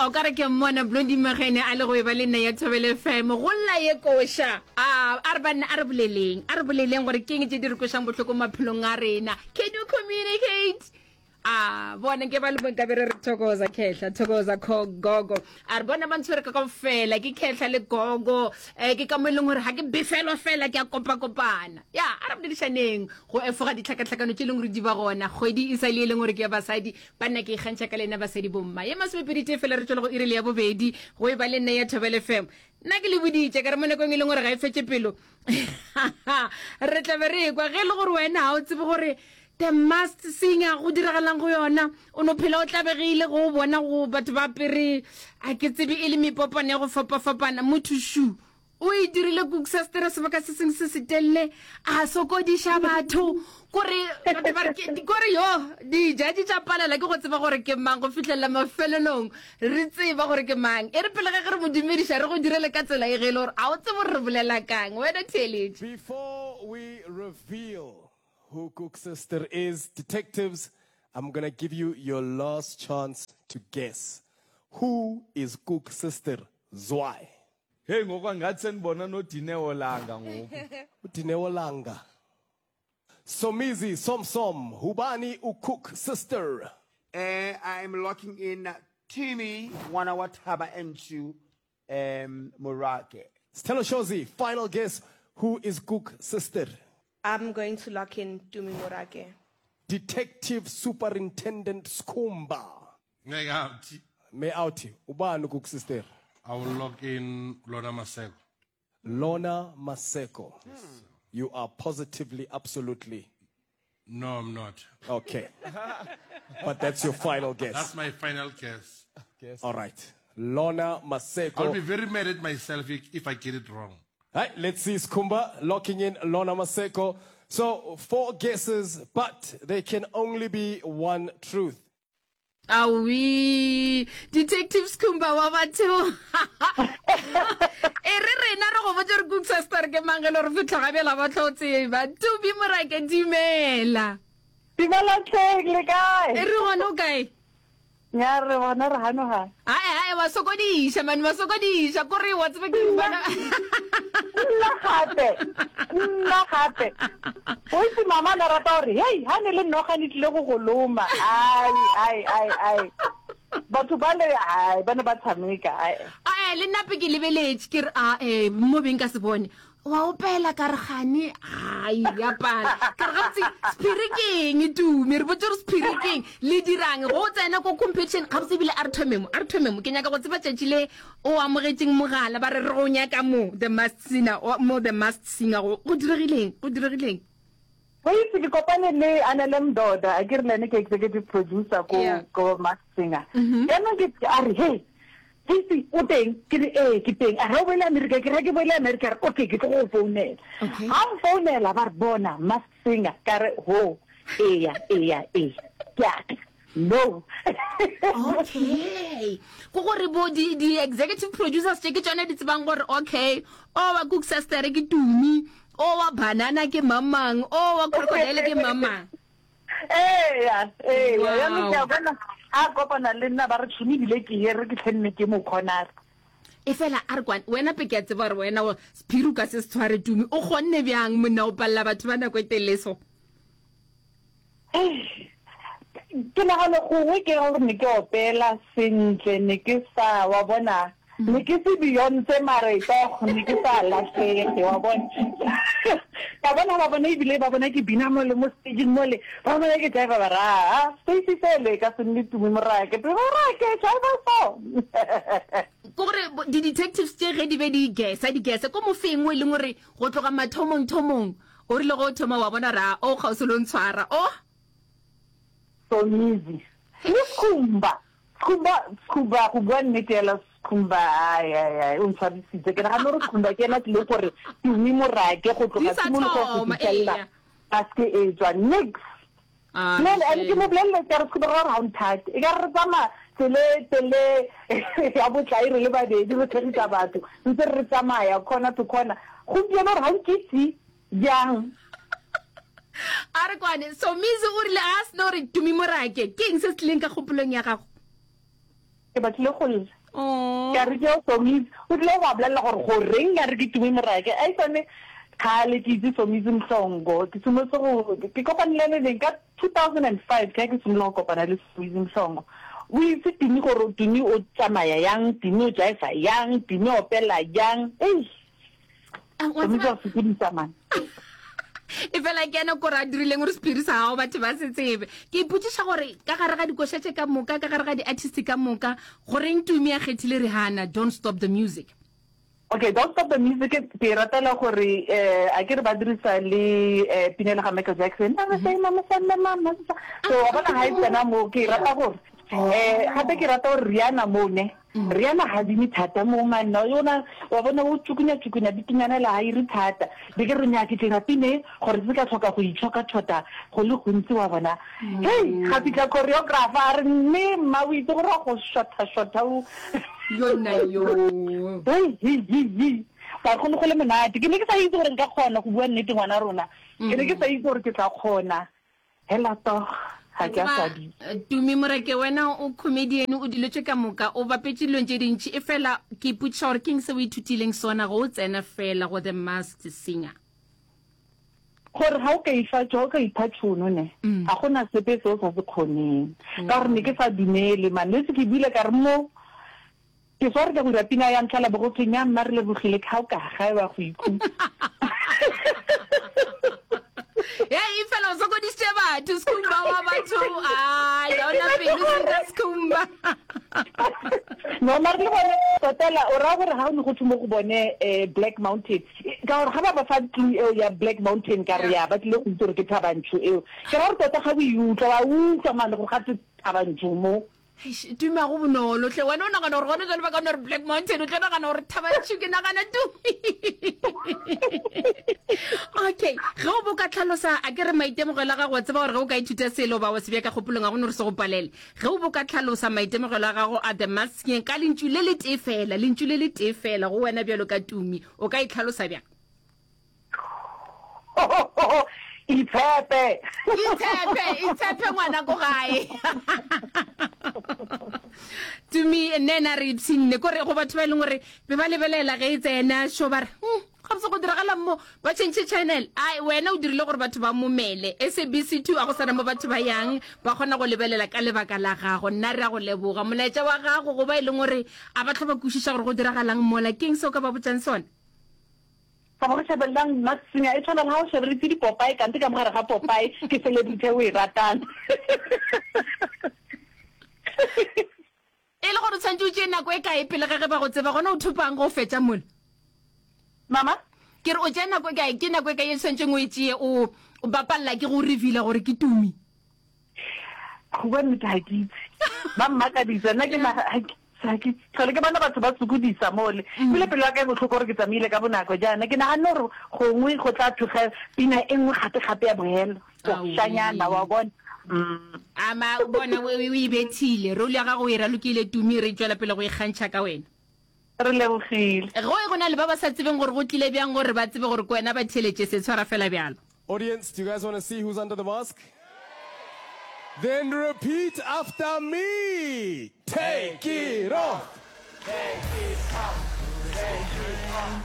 O ka re ke mmona Blondie Magene a le go e ba le nna ya Thobela FM. Go lla ye koša. A, a re banna a re boleleng. A re boleleng gore keng tše di re kwešang bohloko maphelong a rena. Can you communicate? A, bona nke ba le mo nkabe re re thokoza khehla, thokoza kho gogo. A re bona ba ntshwere ka kaofela, ke khehla le gogo. Eh, ke ka mo e leng gore ga ke befelwa fela ke a kopakopana. Ya, a re boledišaneng go efoga ditlhakatlhakano tše e leng gore di ba gona. Kgwedi e sa le e leng gore ke ya basadi. Banna ke ikgantšha ka lena basadi bomma. Ye masomepedi tee fela re tšwela go iri le ya bobedi go e ba le nna ya Thobela FM. Nna ke le boditše ka re mo nakong e leng gore ga e fetše pelo re tla be re ekwa ge e le gore wena ga o tsebe gore The Masked Singer go diragalang go yona o no phela o tlabegile go bona go batho ba apere a ke tsebe e le mepopana ya go fapafapana motho shu O e dirile Koeksastere sebaka se sengwe se setelele, a sokodiša batho kore batho ba re ke kore yo dijudge tša palela ke go tseba gore ke mang go fihlelela mafelelong re tseba gore ke mang. E re pele ga ge re mo dumediša re go direle ka tsela e ge e le gore a o tsebe gore re bolela kang wena theeletše. Before we reveal who Koeksister is, detectives, I'm gonna give you your last chance to guess. Who is Koeksister Zwai? Hey ngoku angathi sendibona noDineo Langa ngoku. UDineo Langa. Somizi Somsom, Hubani uCook Sister. Eh, I'm locking in Tumi ngwana wa Thaba Nchu um Morake. Sthelo Shozi, final guess, who is Cook Sister? I'm going to lock in Tumi Morake. Detective Superintendent Skhumba. Ngeke outie. Me outie, ubani uCook Sister? I will lock in Lorna Maseko. Lorna Maseko. You are positively, absolutely. No, I'm not. Okay. But that's your final guess. That's my final guess. Guess. All right. Lorna Maseko. I'll be very mad at myself if, if I get it wrong. All right, let's see Skhumba locking in Lorna Maseko. So, four guesses, but there can only be one truth. Aowi, Detective Skhumba wa batho. E re rena re go botse re kuksa star ke mang ge le re fitlha ga bjela ba tlo tseba. Tubi Morake dumela. Dumela tlheng le kae? E re gona o kae? Nya re bona re hano ha. Ae ae wa sokodiša man wa sokodiša kore wa tseba ke bana. Nna gape. Nna gape. O itse mama na rata gore hei ha ne le noga ne tlile go go loma. Ai ai ai ai. Batho ba le ai ba ne ba tshameka ai. Ae le nna pe ke lebeletše ke re a eh mo beng ka se bone. Wa opela ka re gane ai ya pala. Ka re gabotse sephiri ke eng Tumi re botse gore sephiri ke eng le dirang go tsena ko competition gabotse ebile a re thome mo a re thome mo ke nyaka go tseba tšatši le o amogetšeng mogala ba re re go nyaka mo The Masked Singer mo The Masked Singer go go diregileng go diregileng. O itse ke kopane le Anele Mdoda a ke re le ene ke executive producer ko ko Masked Singer. Jaanong ke a re hey Sisi, o teng? Ke re, Ee, ke teng. A re, O boele Amerika? Ke re, Ga ke boele Amerika. A re, Okay, ke tlo go go founela. Okay. Ga mfounela, ba re, Bona, Masked Singer. Ka re, Ho, eya, eya, eya. Ke a tla. No. Okay. Ke gore bo di, di executive producers tše ke tšona di tsebang gore okay, o wa Koeksastere ke Tumi, o wa Banana ke mamang, o wa Crocodile ke mamang. Eya, eya, jaanong ke a bona a kopana le nna ba re tšhomi ebile ke ye re ke tlhenne ke mo corner. E fela a re kwane wena pe ke a tseba gore wena o sephiri o ka se se tshware Tumi o kgonne bjang monna o palela batho ba nako e telele so? Ke nagana gongwe ke gore ne ke opela sentle ne ke sa wa bona Ne ke se Beyonce mare toh ne ke sa lahlege wa bona. Ka bona ba bona ebile ba bona ke bina mole mo stageng mole ba bona ke jiva ba re aa Stacey fele e ka se nne Tumi Morake Tumi Morake jiva so. Ke gore di-detectives tše ge di be di gesa di gesa ko mofeng o e leng gore go tloga mathomong thomong o rile go thoma wa bona ra o kgauswi le o ntshwara o. Somizi le Skhumba Skhumba, Skhumba, go bua nnete fela Skhumba, ai, ai, ai, o ntshwabisitse. Ke nagana gore Skhumba ke ena tlile gore Tumi Morake go Di tloga sa tshimologong go thoma, fitlhelela eya. a seke e tswa nix. Ah, Nne and ke shame. mo boleletse ka re Skhumba ra gore ga o nthate. E ka re re tsamaya tsele tele ya botlai re le babedi re tshegisa batho ntse re tsamaya corner to corner. Gompieno gore ga o nkitse bjang. A re kwane, Somizi o rile a seno gore Tumi Morake, ke eng se se tlileng ka kgopolong ya gago? Ke batlile go lla. Ka re ke Somizi o tlile go ba bolelela gore goreng a re ke Tumi Morake. Aitsane kgale ke itse Somizi Mhlongo. Ke simolotse go ke kopane le ene neng ka 2005 ke ha ke simolola go kopana le Somizi Mhlongo. O itse Tumi gore Tumi o tsamaya yang, Tumi o jaiva yang, Tumi o opela yang. Eish. Wa Somizi wa sokodisa man. E fela ke ena kore a dirileng gore sephiri sa gago batho ba se tsebe. Ke ipotšiša gore ka gare ga dikoša tše ka moka, ka gare ga di-artist ka moka, goreng Tumi a kgethile Rihanna, Don't Stop the Music? Okay, Don't Stop the Music ke e ratela gore eh, a ke re ba dirisa le eh, pina le ga Michael Jackson. Mama say, mama say, mama, mama. So wa bona ha e tsena mo ke e rata gore eh gape ke rata gore Rihanna mo ne. Rihanna ga bine thata mo manna yona wa bona o tšukunya tšukunya bikinyana le ga ire thata. Be ke re nya ke dira pine gore se ka tlhoka go itshoka thota go le gontsi wa bona. Hei ga fihla choreographer a re mme mma o itse gore wa go shotha shotha o. Yona yo. Hei hi hi hi. Ba go ne go le monate. Ke ne ke sa itse gore nka kgona go bua nnete ngwana rona. Ke ne ke sa itse gore ke tla kgona. Hela toh, ga ke a swabisa. Tumi Moreke, wena o comedian, o dilo tše ka moka, o bapetše dilong tše dintši, efela ke ipotšiša gore keng se o ithutileng sona go o tsena fela go The Masked Singer? Gore ga o ka ifa, ga o ka ipha tšhono ne, ga go na sepe se o sa se kgoneng. Ka gore ne ke sa dumele man, le se ke buile ka re mo, Ke sware ka go dira pina ya ntlha la bo go thwe nya mma re lebogile ke ga o ka gae wa go ikhutsa. Hei fela o sokodisitše batho Skhumba wa batho ai ga ona pelo senka Skhumba. No mare le bone totela o raya gore ga o ne go thwe mo go bone eh, Black Mountain ka gore ga ba ba fa clue eo ya Black Mountain ka re ya ba tlile go itse gore ke Thabantsho eo ke ra gore tota ga o e utlwa wa utlwa mane gore ga twe Thabantsho mo. Eish, Tumi a go bonolo hle. Wena o nagana gore gone jale ba ka no re Black Mountain, o tlo nagana gore Thabanchu, ke nagana Tumi. Okay, ge o bo ka tlhalosa, a ke re maitemogelo a gago, wa tseba gore ge o ka ithuta selo ba wa se bea ka kgopolong, ga go no re se go palele. Ge o bo ka tlhalosa maitemogelo a gago a The Masked Singer ka lentšu le le tee fela, lentšu le le tee fela go wena bjalo ka Tumi, o ka itlhalosa bjang? Itshepe. Itshepe, itshepe ngwana ko gae. Tumi nne ena re ipshinne kore go batho ba e leng gore be ba lebelela ge e tsena sho ba re hmm, gabotse go diragalang mo ba change channel ai wena o dirile gore batho ba momele SABC 2 a go sana mo batho ba yang ba kgona go lebelela ka lebaka la gago nna re a go leboga molaetša wa gago go ba e leng gore a ba tlho ba kwešiša gore go diragalang mola keng se o ka ba botsang sona Ka mo re shebellang Masked Singer e tshwana le ha o shebeletse dipopae kante ka mo gare ga popae ke celebrity e o e ratang. E le gore o tshwanetse o tšee nako e kae pele ga ge ba go tseba, gona o thopang go fetša mola? Mama? Ke re o tšea nako e kae, ke nako e kae e tshwanetseng o e tšee o o bapalela ke go revealer gore ke Tumi? Go bua nnete ga ke itse. Ba mmakaditse nna ke ga ke ga ke tlhole ke bona batho ba sokodisa mole. Ebile pelo ya ka e bohloko gore ke tsamaile ka bonako jaana. Ke naganne gore gongwe go tla thuga pina e nngwe gape-gape ya bohelo. Košanyana wa bona. Mm. Ama o bona o o e bethile. Role ya gago o e ralokile Tumi re tšwela pele go ikgantšha ka wena. Re lebogile. Go e go na le ba ba sa tsebeng gore go tlile bjang gore ba tsebe gore ke wena ba theeletše se tshwara fela bjalo. Audience, do you guys want to see who's under the mask? Then repeat after me. Take it off. Take it off. Take it off.